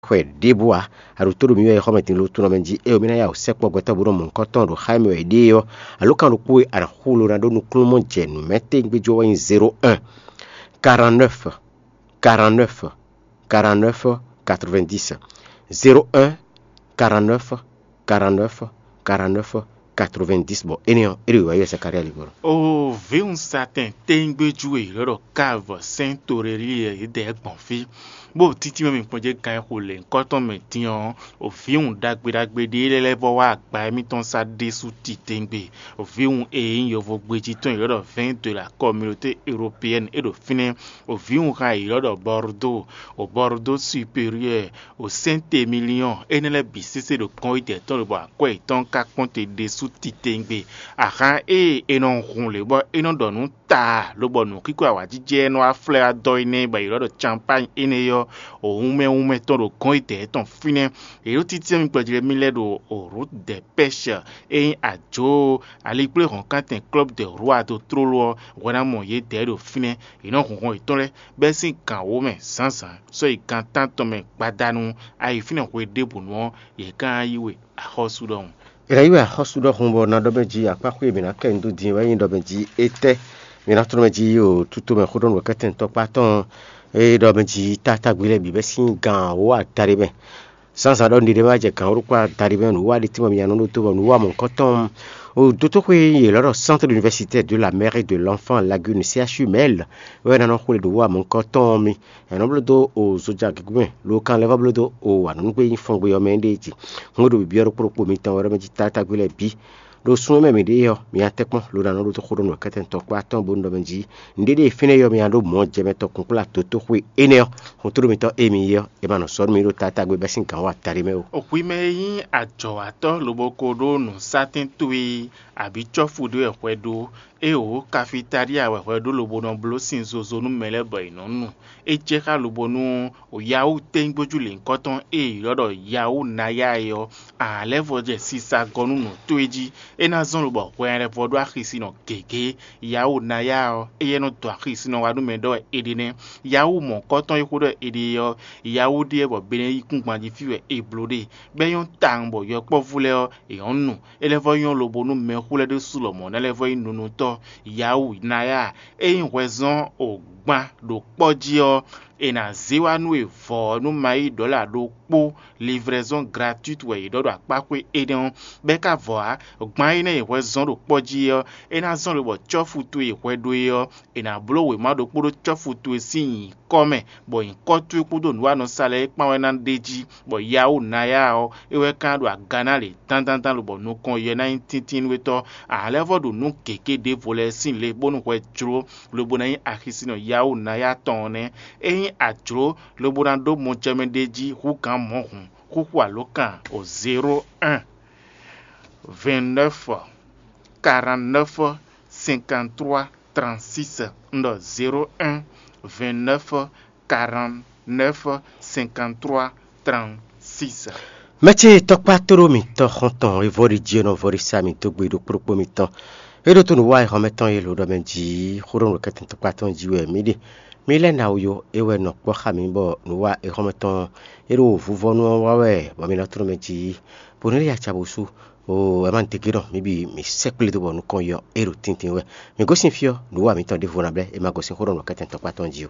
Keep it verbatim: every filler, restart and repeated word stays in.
Xwɛ ɖěbǔ ǎ. A ɖo tó ɖo mǐ wɛ e xɔ mɛ din lo tunɔ mɛ jí, ée mǐ ná ya wǔ sɛkpɔ́ gbɛtɔ́ bó nɔ mɔ nukɔn tɔn ɖo xá mɛ wɛ ɖée ɔ́, alǒkan ɖokpó e a nǎ xú lo ná ɖó nukúnnú mɔ jɛ nǔ mɛ tégbéjó wɛ nyí zéro un, quarante-neuf, quarante-neuf, quarante-neuf, quatre-vingt-dix. Zéro un, quarante-neuf, quarante-neuf, quarante-neuf, quatre-vingt-dix. Bɔ énɛ́ ɔ́, é ɖo wǎyi wɛ Zakalía lí gbɔn. O vǐwun satɛn téngbéjú e è ylɔ́ ɖɔ Káv sɛ́n Torelíɛ é dɛ gbɔn fí, bó títí mɛ mi kpɔ́n jɛ gan e xo lě nyǐkɔ tɔn mɛ din ɔ́, o vǐwun ɖagbe ɖagbe ɖé lɛ́ɛ lɛ́ vɔ wá agba émítɔn sá ɖésú titewungbe. O vǐwun e nyí yovógbéjí tɔn e è ylɔ́ ɖɔ Vɛ̌n de la Communauté Européenne é ɖo fínɛ́. O vǐwun xa e è ylɔ́ ɖɔ Bɔrdó, o Bɔrdó Supérieur, o Sɛ́ntemiliɔ́n, énɛ́ lɛ́ɛ bǐ sésé ɖo kɔn yi dɛ̌ tɔn lobɔ akwɛ́ yětɔn ka kpɔ́n te ɖésú titewungbe. Ahan e è nɔ hun lě bɔ é nɔ ɖɔ nǔ taa lobɔ nǔxíxo awǎjijɛ e nɔ wá flɛ́ wá dɔ énɛ́ bɔ è ylɔ́ ɖɔ Campány énɛ́ ɔ́, o wunmɛ wunmɛ tɔn ɖo kɔn yi dɛ̌ tɔn fínɛ́. Yě ɖo títí mi gbɔjlɛ́ mì lɛ́ɛ ɖo o Route des Pêches e nyí ajǒ alikpléhɔ̌nkántɛn Club de Roi dó tlóló ɔ́ hwɛ ná mɔ yědɛɛ ɖo fínɛ́. Yě nɔ hun hɔn yětɔn lɛ́ɛ bɛ́ sín gǎn wǒ mɛ zǎnzǎn sɔ́ yi gan tántɔn mɛ gbadanu. A yi fínɛ́ hwe ɖěbǔnu ɔ́, yě ká ná yí we axɔ́sú ɖɔhun. È nǎ yí wɛ axɔ́sú ɖɔhun bɔ ná ɖɔ mɛ jí akpáxwé e mǐ ná kɛ nǔ dó din wɛ nyí ɖɔ mɛ jí étɛ́ mǐ ná tlɔ́ mɛ jí yi o tútú mɛ xó ɖɔ nǔ kɛ́tɛn tɔkpá tɔn e ɖɔ mɛ jí tátágbe lɛ́ɛ bǐ bɛ́ sín gǎn wǒ adaɖé mɛ. Zǎnzǎn ɖɔ nǔɖiɖe ma jɛ gǎn wǒ ɖokpó adaɖé mɛ nǔwiwa ɖé tɛ́nwe mɛ mǐ nya nɔ ɖó tó bɔ nǔwiwa mɔ̌hunkɔtɔn o dótóxwé e è lɔ́ ɖɔ Centre d'université de la mère et de l'enfant Lagune C H U Mɛl wɛ ná nɔ xwlé ɖo wǔwa mɔ̌hunkɔtɔn ɔ́ mì. È nɔ bló dó o zoja gěgúmɛ lo kan lɛ́ vɔ bló dó o anǔnugbe nyí fɔngbe ɔ́ mɛ ɖée jí. Hun e ɖo bǐbyɔ́ ɖokpó ɖokpó mitɔn wɛ ɖɔ mɛ jí tátágbe lɛ́ɛ bǐ ɖo sun e mɛ mǐ ɖe ɔ́, mi nya tɛ́nkpɔ́n lo ná nɔ ɖó xó ɖó nǔ kɛ́tɛ́ntɔ́ kpó atɔ́ɔ́n bónú ɖɔ mɛ jí nǔɖé ɖé e fínɛ́ ɔ́ mi nya ɖó mɔ̌ jɛ mɛ tɔn kún kplá dǒtóxwé énɛ́ ɔ́, xutúɖo mitɔn e mi yí ɔ́, è ma nɔ sɔ́ nú mi ɖó tatágbe bɛ́ sín gǎn wá taɖé mɛ ó. Hwi mɛ e nyí ajɔ̌watɔ́ lobo ko ɖó nǔsatɛn towe abǐ cɔ́fu ɖé wɛ hwɛ ɖó, é wǒ kafitalía wɛ hwɛ ɖó lobo nɔ bló sin zozo nú mɛ lɛ́ɛ bɔ è nɔ́ nu. É jɛ xá lobo nú Yahoo tɛ́nyígbójú lěhunkɔtɔn e è ylɔ́ ɖɔ Yahoo Naya é ɔ́, a lɛ́ vɔ jɛ sisa gɔ́ nú nǔ towe jí. É ná zɔ́n lobɔ hwɛ lɛ́ vɔ ɖó axisinɔ gěgé. Yahoo Naya ɔ́, éyɛ́ nɔ dɔn axisinɔ wá nú mɛ ɖɔ wɛ è ɖe nɛ́. Yahoo mɔ̌kɔtɔn e xó ɖɔ è ɖe é ɔ́, Yahoo ɖíe bɔ Benɛ́ yíkúngban jí fí wɛ è bló ɖe, bɔ é nyɔ́ tawun bɔ yɔkpɔ́vú lɛ́ɛ ɔ́, è nyɔ́ nu. É lɛ́ vɔ nyɔ́ lobo nú mɛxó lɛ́ɛ ɖésú lɔmɔ̌ ná lɛ́ vɔ nyí nunutɔ́. Yahoo Naya, é nyí hwɛzɔ́n o gban ɖo kpɔ́ jí ɔ́, è nǎ zé wá nú we vɔ̌ nú ma yí ɖɔ̌la ɖokpó. Livraison gratuite wɛ è ɖɔ ɖo akpáxwé énɛ́ ɔ́, bɔ é ka vɔ ǎ. Gban énɛ́ e hwɛ zɔ́n ɖo kpɔ́ jí é ɔ́, é ná zɔ́n lobɔ cɔ́fu towe e hwɛ ɖó é ɔ́, è nǎ bló wěma ɖokpó ɖó cɔ́fu towe sín nyǐkɔ mɛ, bɔ nyǐkɔ towe kpódó nǔwanɔsá lɛ́ɛ é kpán wɛ ná ɖ'é jí, bɔ Yahoo Naya ɔ́, é wɛ ka ɖo aga ná lě dandandan lobɔ nukɔn yɛ ná nyí tíntínnúwetɔ́. A lɛ́ vɔ ɖo nǔ gěgé ɖěvo lɛ́ɛ sín le bónú hwɛ jló lobo ná nyí axisinɔ Yahoo Naya tɔn ɔ́ nɛ́. Ényí a jlǒ lobo ná ɖó mɔjɛmɛ ɖé jí hú gǎn mɔ̌ hǔn, xúxú alǒkan o zéro un, vingt-neuf, quarante-neuf, cinquante-trois, trente-six. Un ɖɔ zéro un, vingt-neuf, quarante-neuf, cinquante-trois, trente-six. Mɛ ce tɔkpá tóɖó mitɔn xɔntɔn e vɔ́ ɖi jí e nɔ vɔ́ ɖi sa mi dó gbe ɖokpó ɖokpó mitɔn. É ɖó tó nǔ wa exɔmɛ tɔn e lǒ ɖɔ mɛ jí xó ɖɔ nǔ kɛtɛn tɔkpá tɔn jí wɛ mǐ ɖe. Mǐ lɛ́ ná wú yó, é wɛ nɔ kpɔ́ xá mǐ bɔ nǔ wa exɔmɛ tɔn e ɖo vuvɔnu ɔ́ wa wɛ bɔ mi nɔ tlɔ́n mɛ jí. Bɔ nǔ lɛ́ɛ ya ca bó sú, o ɛ má degé nɔ mǐ bǐ mǐ sɛkplé dó bɔ nukɔn yɔ é ɖo tíntín wɛ. Mǐ gosín fí ɔ́, nǔ wa mǐtɔn ɖěvo ná blɛ́, è ma gosín xó ɖɔ nǔ kɛtɛn tɔkpá tɔn jí o.